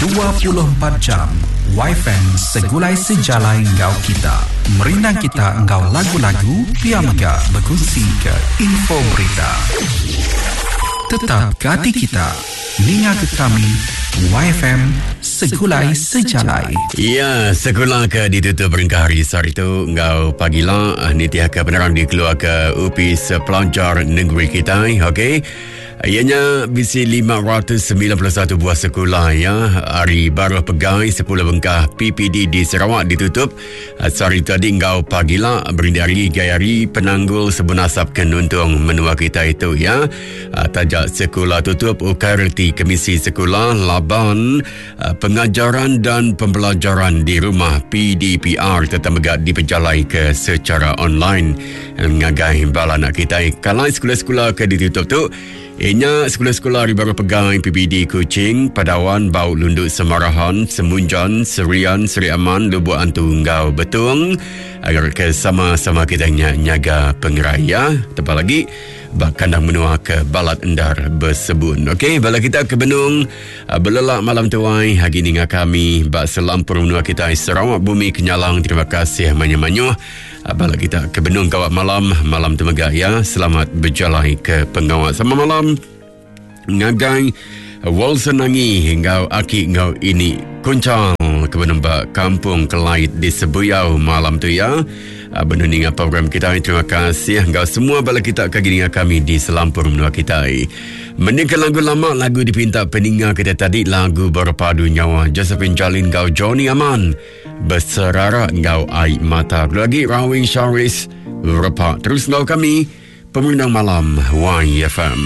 24 jam Yfm segulai sejalai enggau kita. Merindang kita enggau lagu-lagu pia mega bekunsi ke info berita. Tetap ke ati kita. Ninga ke kami Yfm segulai sejalai. Ya, sekula ke ditutup berengkah hari sehari tu enggau pagila nitihka penerang dikeluarka Opis Pelajar Negeri kitai. Okey. Iya nya bisi 591 buah sekula ya ari baruh pegai 10 bengkah PPD di Sarawak ditutup eh, sehari tadi enggau pagila berindik ari gaya hari penanggul sebun asap ke nuntung menua kita itu ya. Eh, taja sekula tutup ukai reti kemisi sekula laban eh, pengajaran dan pembelajaran di rumah PDPR tetap mega dipejalaika secara online. Ngagai bala anak kitai kalai sekula-sekula ke ditutup tu inya sekula-sekula ari baruh pegai PBD Kuching, Padawan, Bau Lundu Semarahan, Semunjan, Serian, Seri Aman, Lubuk Antu enggau Betong agar ke sama-sama kita nya nyaga pengerai ya. Tebal lagi ba kandang menua ke balat endar besebun. Okey, bala kita ke benung ah, belelak malam tuai agi ninga kami ba selampur menua kita Sarawak Bumi Kenyalang. Terima kasih mayuh-mayuh. Bala kita ke benung gawa malam, malam tu mega ya. Selamat bejalai ke pengawa. Sama malam ngagai Walson Nangi enggau aki enggau ini Kunchal ke benung ba Kampung Kelait di Sebuyau malam tu ya. Benung ninga program kita. Terima kasih enggau semua bala kita ke ninga kami di selampur menua kita. Mendingka lagu lama lagu dipinta peninga kita tadi lagu berpadu nyawa Josephine Jalin enggau Johnny Aman. Beserara enggau ai mata. Perlu lagi Rawing Sharis repa terus enggau kami Pemerindang Malam YFM.